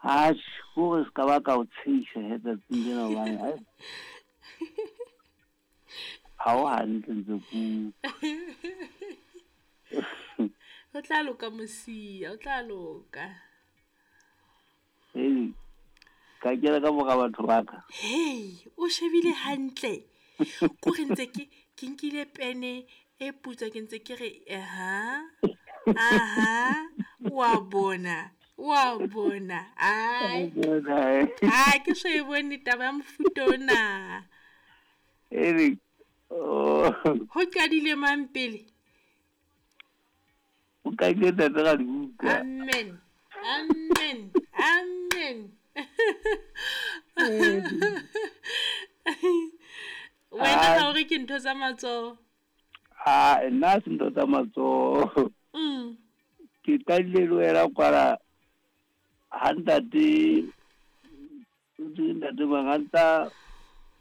Atjhe, kore se ka ba ka o tsheisa he tsatsing lena hobane ai. Ha o hantle ntse ku. Ho tla loka mosia, ho tla loka. Hey, ka kena ka mora batho ba ka. Hey, o shebile hantle. Ko re ntse ke ke nkile pene e putswa ke ntse ke re aha. Aha, wa bona. Wa bona. Ai. Ai, ke so e bone taba ya mofuta ona. Ere. Oh. Ho qadile mang pele? O qadile ntate ga dibuka. Amen. Amen. Amen. Wena ga o re ke ntho tsa matsoho? A nna se ntho tsa matsoho. Ke qadile le wena kwala ha ntate ntate mang a ntsa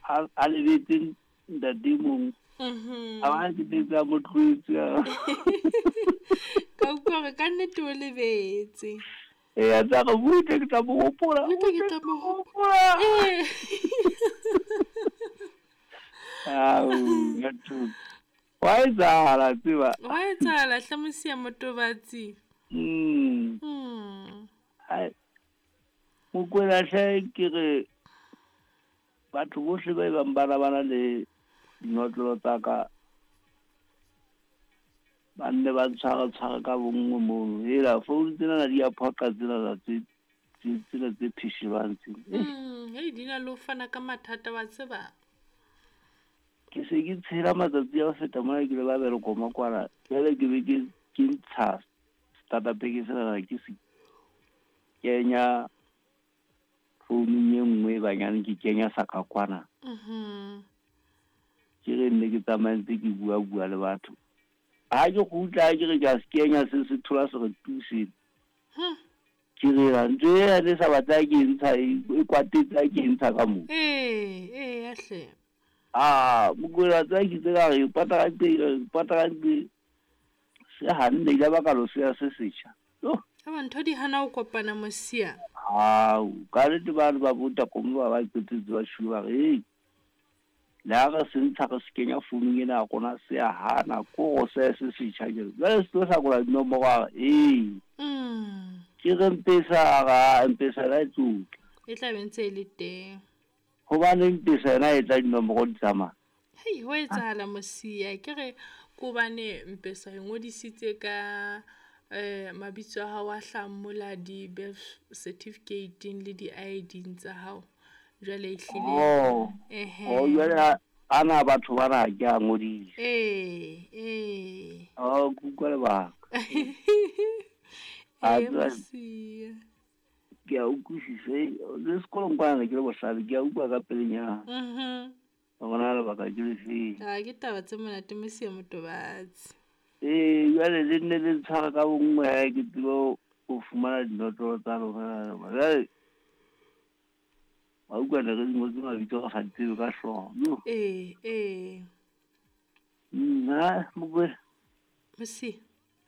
a lebetse ntate mong. A ba ke tetse a mo tloetse. Ka utlwa hore ka nnete o lebetse. Ee, a tsa re butle ke tla mo hopola. Butle ke tla mo hopola. Ee. Ao, batho. Wa etsahala tseba. Wa etsahala hle mosia motobatsi. Ai. Mokwena hle ke re batho bohle ba ebang ba na le dinotlolo tsa ka ba nne ba ntshware tshware ka bonngwe mono. Hela founu tsena di a phoqa tsena tse tsena tse pheshelwang tsena. Hei di na le ho fana ka mathata wa tseba. Ke se ke tshela matsatsi a ho feta mona ke le ba bereko kwana. Jwale ke be ke ntsha starter pack sena ke se kenya founung e nngwe banyane ke kenya sa ka kwana. Ke re nne ke tsamaye ntse ke bua bua le batho. Ha ke kgutla ke re ke a se kenya se se thola se re tuse. Ke re ntho e ne sa batla ke ntsha e kwatetse ha ke ntsha ka moo. Ee, hle. Ah, mokwena tsa ke tse ka re patagantse se hanne ile ba ka lo se se setjha. Aba ntho di hana ho kopana mosia. Au, ka nnete ba ba bota komo ba ba qetetse ba shwe ba re, "Hey, le ha re se ntsha re se kenya founung ena ya rona se a hana ko go se se setjha ke." Jwale se tlo hlakola dinomoro a re, "Ee." Ke re Mpesa ra Mpesa la e tlotla. E tla be ntse e le teng. Hobane Mpesa yona e tla dinomoro di tsamaya. Hei, ho etsahala mosia. Ke re kobane Mpesa e ngodisitse ka mabitso a hao a hlahang mola di-birth certificate-eng le di-ID-ing tsa hao. Jwale ehlile. Oh. Oh, jwale ana batho bana ke a ngodisa. Ee. Oh, ke utlwa lebaka. Ee, mosia. Ke a utlwisisa. Le sekolong kwana ke le bohlale, ke a utlwa ka pelenyana. Hore na lebaka ke lefeng. Ah, ke taba tse monate mosia motobatsi. Ee, jwale le nne le ntshware ka bonngwe ha ke tsebe ho fumana dinotlolo tsa lona. Jwale wa utlwa ne re di ngotse mabitso re sa di tsebe ka hlooho. Ee. Nna Mokwena. Mosia.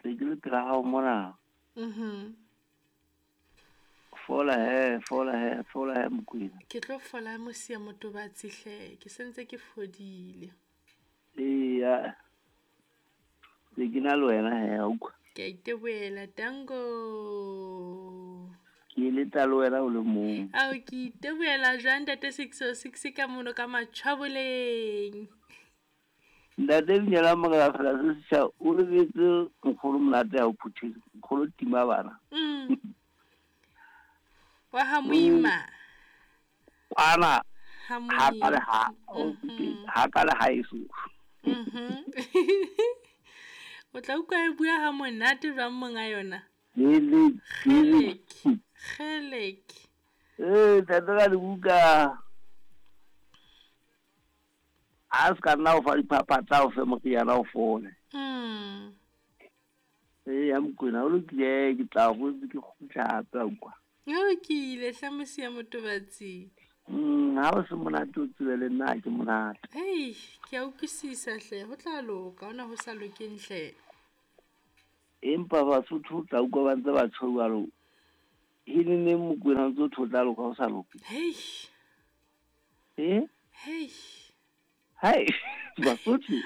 Se ke le pela hao mona. Fola he, fola he, fola he Mokwena. Ke tlo fola mosia motobatsi hle, ke sentse ke fodile. Ee, se ke na le wena he, a utlwa. Ke a itebohela, tango. Ke eletsa le wena o le mong. Ao, ke itebohela jwang ntate 606 ka mono ka Matjhaboleng. Ntate Binyela Morena fela se setjha o lebetse nkgono monate ha o phuthile. Nkgono tima bana. Wa ha moima. Kwana. Ha Ha ka le ha. Ha ka le ha eso. O tla utlwa e bua ha monate jwang monga yona? Kgeleke. Kgeleke. Ee, ntate ka dibuka. A se ka nna o fa diphaphatsa o fe moriana o fole. Ee, ya Mokwena, o lokile ke tla go ke kgutla hape a utlwa. O lokile hle mosia motobatsi. Ha o se monate o tsebe le nna ha ke monate. Hei, ke a utlwisisa hle, ho tla loka, hona ho sa lokeng hle. Empa Basotho o tla utlwa ba ntse ba tjho jwalo. E neng Mokwena o ntse o thotla loka o sa loke. Hei. Eh? Hei. Hai, Basotho.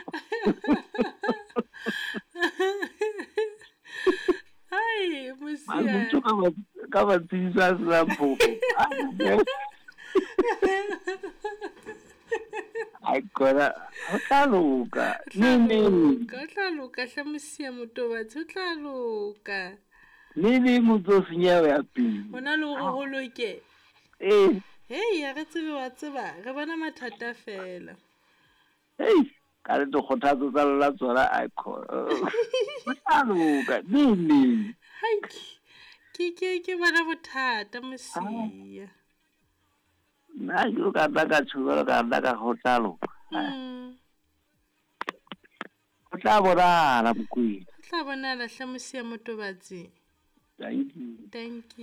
Hai, mosia. Basotho ka ba tsebisa a senang phofo. Ai kona, ho tla loka. Neng neng. Ho tla loka hle mosia motobatsi, ho tla loka. Neng neng motse o senyeha ho ya pele. Hona le hore ho loke. Ee. Hei, ha re tsebe wa tseba, re bona mathata fela. Hei, ka le dikgothatso tsa lona tsona ai khona. Ho tla loka, neng neng. Hai, ke ke ke bona bothata mosia. Nna ke ka nna ka tjho jwalo ka nna ka ho tla loka. Ho tla bonahala Mokwena. Ho tla bonahala hle mosia motobatsi. Thank you. Thank you.